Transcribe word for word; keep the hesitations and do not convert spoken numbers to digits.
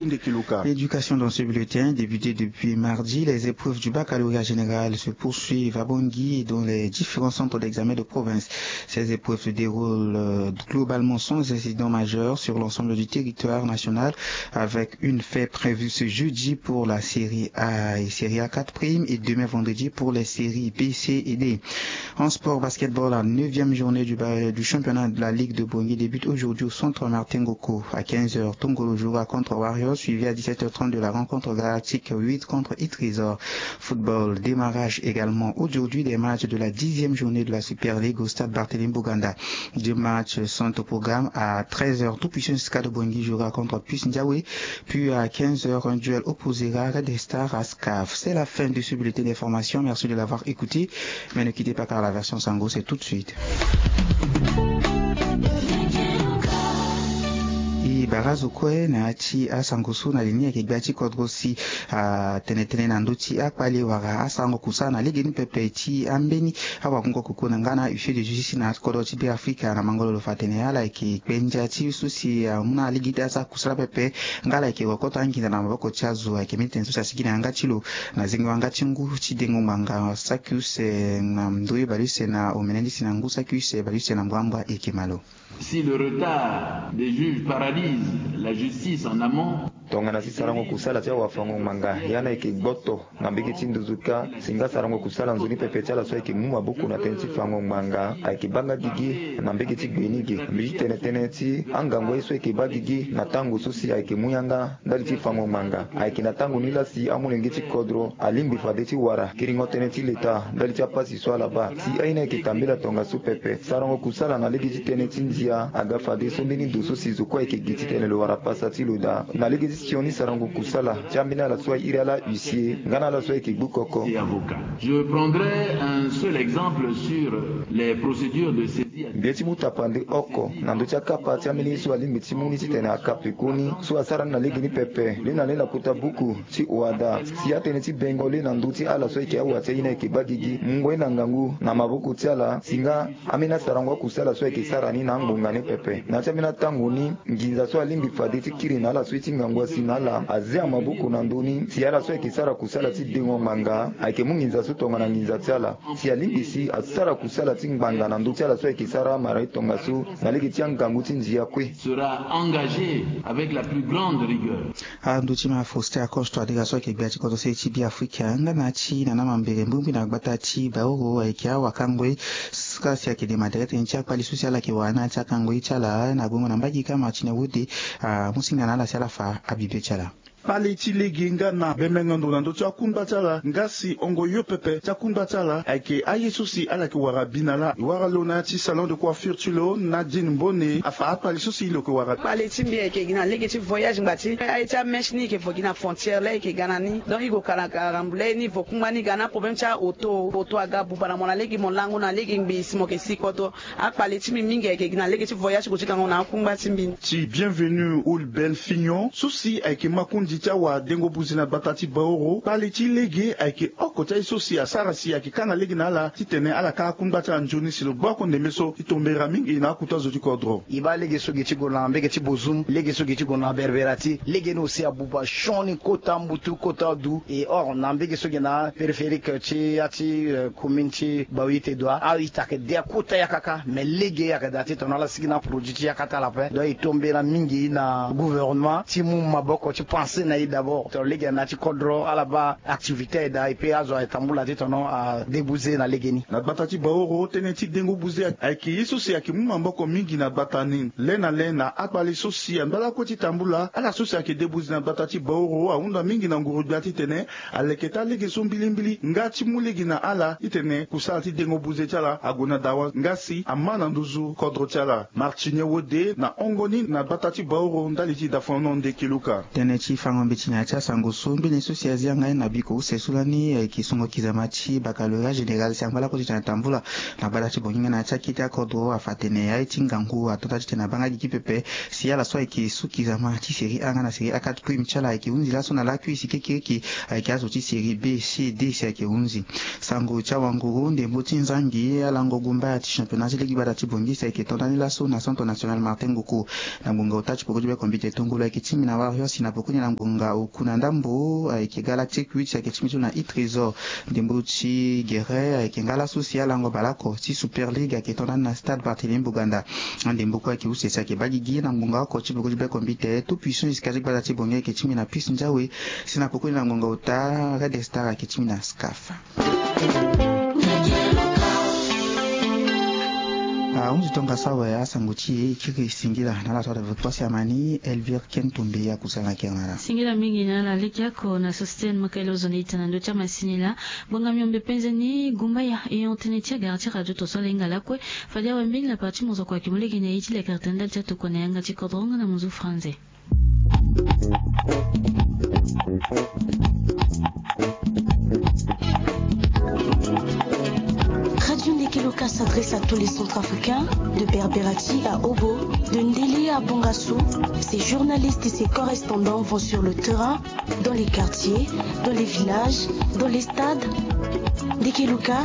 Éducation dans ce bulletin. Débuté depuis mardi, les épreuves du baccalauréat général se poursuivent à Bangui et dans les différents centres d'examen de province. Ces épreuves se déroulent globalement sans incident majeur sur l'ensemble du territoire national, avec une fin prévue ce jeudi pour la série A et série A quatre primes et demain vendredi pour les séries B, C et D. En sport, basketball, la neuvième journée du championnat de la Ligue de Bangui débute aujourd'hui au centre Martin Ngoko à quinze heures. Tongolo jouera contre Warriors, suivi à dix-sept heures trente de la rencontre galactique huit contre Itrésor. Football, démarrage également aujourd'hui des matchs de la dixième journée de la Super League au stade Barthélémy Boganda. Deux matchs sont au programme. À treize heures, Tout Puissant Stade Bangui jouera contre Puce Ndiawe. Puis à quinze heures, un duel opposera Red Star à Scaf. C'est la fin de ce bulletin d'information. Merci de l'avoir écouté. Mais ne quittez pas, car la version Sango, c'est tout de suite. E bara zo kue na ya ti asango so na li ni ayeke gbia ti kodro si atene tënë na ndö ti akpale wala asarango kusala na lege ni pepe ti ambeni awakungo koko na nga na huissier de justice na kodro ti Beafrika na mango lo lo fa atene ala yeke kpe ndia ti so si amu na alege ti asara kusala pepe. Nga ala yeke wokota anginza na maboko ti azo ayeke mbeni tënë so si asigi na yanga ti lo na zengo yanga ti ngu ti dengo ngbanga saki use na ndö ye baleuse na omene lisi na ngu saki use baleuse na mbrambra eke malo. Si le retard des juges paralyse la justice en amont, tongana si sarango kusala ti awafango ngbanga ya na yeke gboto na mbege ti nduzu kâ si nga sarango kusala nzoni pepe ti ala so ayeke mu maboko na tënë ti fango ngbanga ayeke baa nga gigi na mbege ti gbe ni ge. Mbi ti tene tënë ti angangu aye so ayeke baa gigi na tango so si ayeke mu yanga ndali ti fango ngbanga ayeke na tango ni laa si amolenge ti kodro alingbi fade ti wara kiringo tënë ti leta ndali ti apasi so ala baa. Si aye ni ayeke tambela tongaso pepe sarango kusala na lege ti tënë ti ndia aga fade so mbeni ndo so si zo kue ayeke gi titene lo wara pasa ti lo daa na lege ti sioni sarango kusala ti ambeni ala so airi ala huissier nga na ala so ayeke gbu koko. Je prendrai un seul exemple sur les procédures de saisie. Mbi ye ti mu tapande oko na ndö ti akapa ti ambeni ye so alingbi ti mu ni titene akape koni so asara ni na lege ni pepe le na le na kota buku ti oada si atënë ti bengo le na ndö ti ala so ayeke awa ti aye ni ayeke baa gigi mungo ye na ngangu na maboko ti ala si nga ambeni asarango akusala so ayeke sara ni na angbonga ni pepe na ya ti ambeni atango ni. Nginza so alingbi fade ti kiri na ala so ye ti ngangu asi na ala azia maboko na ndö ni si ala so ayeke sara kusala ti dengo ngbanga ayeke mu nginza so tongana nginza ti ala si alingbi si asara kusala ti ngbanga na ndö ti ala so ayeke sara amara ye tongaso na lege ti angangu ti ndia kue. Sera engagé avec la plus grande rigueur. Ando ti ma Faustin Acosto adega so ayeke gbia ti kodro se ti Beafrika nga na ya ti na na mambere mbirimbiri na gbata ti Baoro ayeke awakango ye. Sika si ayeke dema tere tënë ti akpali so si ala yeke wara na ya ti akango ye ti ala na gongo na mbage ka Martine Wode amu singa na ala si ala fa abibe ti ala. Kpale ti lege nga na bembengo ndo na ndö ti akungba ti ala nga si ongo yo pepe ti akungba ti ala ayeke aye so si ala yeke wara bi na laa e wara lo na ya ti salon de coiffure ti lo Nadine Mbone afa akpale so si lo yeke wara. Kpale ti mbi ayeke gi na lege ti voyage ngba ti aye ti amèche ni e yeke vo gi na frontière laa e yeke ga na ni donc e gue ka na karambu laa e ni vo kungba ni ga na aproblème ti aoto oto aga buba na mo na lege mo lango na lege ngbii si mo yeke si koto. Akpale ti mbi mingi ayeke gi na lege ti voyage ti gue ti gango na akungba ti mbi. Ti Bienvenu Oulbel Fignon so si ayeke makonzi ti awadengo buze na gbata ti Baoro kpale ti lege ayeke oko ti aye so si asara si ayeke kanga lege na ala titene ala ka akungba ti ala nzoni si lo gba oko ndembe so ti tombera mingi na akota zo ti kodro. E baa lege so gi ti gue na mbege ti Bozoum lege so gi ti gue na Berberati lege ni aussi abuba sioni kota mbutu kota du e or na mbege so gi na périphérique ti ya ti commune ti Baoite Doua aita ayeke de akota yakaka mais lege ayeke daa titene ala sigi na produit ti yakata ala ape donc e tombera mingi na gouvernement ti mu maboko ti pense na e d'abord titene lege na ya ti kodro ala baa activité aye daa e pe azo aye tambula titene adébuze na lege ni. Na gbata ti Baoro tënë ti dengo buze ayeke ye so si ayeke mu maboko mingi na gbata ni le na le na akpale so si angba lakue ti tambula ala so si ayeke débuze na gbata ti Baoro ahunda mingi na nguru-gbia titene aleke taa lege so mbilimbili nga ti mu lege na ala titene kusala ti dengo buze ti ala ague na dawa nga si ama na nduzu kodro ti ala. Martine Wode na hongo ni na gbata ti Baoro ndali ti dafono nde keluka. Tënë ti Sango mbeti na ya ti asango so mbeni so si azia ngai na biko use so lani ayeke songo kizama ti baccalauréat général si angba lakue ti tene atambula na gbata ti bongi nga na ya ti akete akodro afa tene aye ti ngangu atonda ti tene abanga gigi pepe. Si ala so ayeke so kizama ti série a nga na série a quatre prime ti ala ayeke hunzi laso na lakui si kekereke ayeke azo ti série b c d si ayeke hunzi. Sango ti awanguru ndembo ti nzangi alango gumbaya ti championnat ti lege gbata ti bongi si ayeke tonda ni laso na centre national Martin Nguku. Na ngbonga ota ti poko ti bekombite tongolo ayeke ti mbi na warrior si na poko ni na ngbonga oku na ndambo ayeke galactique huit ayeke ti mbi so na i trésor. Ndembo ti gere ayeke nga laso si alango baleoko ti super league ayeke tonda ni na stade Barthélémy Boganda. Ndembo kue ayeke use si ayeke baa gigi na ngbonga oko ti poko ti bekombite tout puissant jusqu'à ti gbata ti bongi ayeke ti mbi na piste ndiawe. Si na poko ni na ngbonga ota red star ayeke ti mbi na scaf. Ahunzi tongasa awe asango ti e e kiri singila na ala so ata ve kue si amani Elvire Ken Tombe akusala na kere na ala. Singila mingi na ala lege oko na société ni makele ozoni ita na ndö ti amasini laa. Ngbonga miombe penze ni gumbaya e hon tënë ti agara ti radio to so ala hinga lakue. Fade awe mbeni lapara ti mozoko ayeke mu lege na e ti lekere tene ndali ti atokua na yanga ti kodro nga na mozu franze. Radio Nekeloka s'adresse à tous les Centrafricains, de Berberati à Obo, de Ndélé à Bongassou. Ses journalistes et ses correspondants vont sur le terrain, dans les quartiers, dans les villages, dans les stades. Nekeloka,